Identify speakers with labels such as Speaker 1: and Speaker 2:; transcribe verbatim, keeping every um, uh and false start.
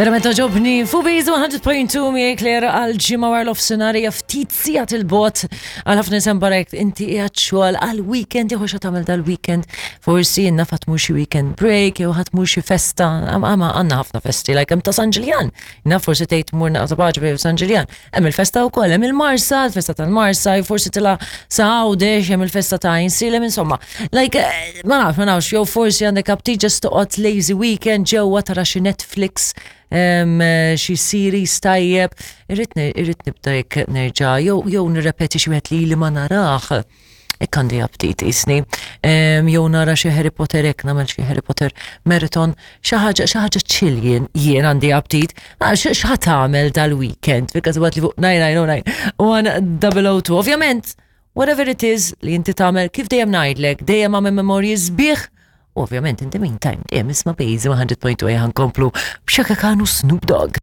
Speaker 1: Verament għoġobni, Fubiz one hundred point two miegħi Claire għal ġimgħa wara nofsinhar, ftit sigħat 'il bogħod għal ħafna nies barek inti qiegħed xogħol għal weekend jew xa tagħmel dal-weekend, forsi jenna ħa tmur xi weekend break jew ħa tmur xi festa, għama għandna ħafna festi, like hemm ta' San Ġiljan. Naf forsi tgħid mur naqta' paċi San Ġiljan. Hemm il-festa wkoll, hemm il-Marsa, il-festa tal-Marsa, forsi tila sa Għawdex, hemm il-festa ta' Għajnsielem, insomma. Like, eh, ma nafx, ma nafx, jew forsi għandek aptit just toqgħod lazy weekend ġewwa tara xi Netflix, em, xi series tajjeb, irrid irrid nibda jekk nerġa' jew jew nirrepeti xi wieħed li li ma narah. Hekk għandi aptit isni. Em, Jew nara xi Harry Potter, hekk nagħmel xi Harry Potter marathon, xi ħaġa xi ħaġa chill jien jien għandi aptit. Ah, X'ħa tagħmel dal-weekend? Because what li fuq nine nine zero nine one zero zero two. Ovvjament, whatever it is li inti tagħmel, kif dejjem ngħidlek, dejjem għamel memorji sbieħ. Ovvjament, in the meantime, dejjem isma' Bejzi one hundred point two, ħa nkomplu b'Chaka Khan u Snoop Dogg.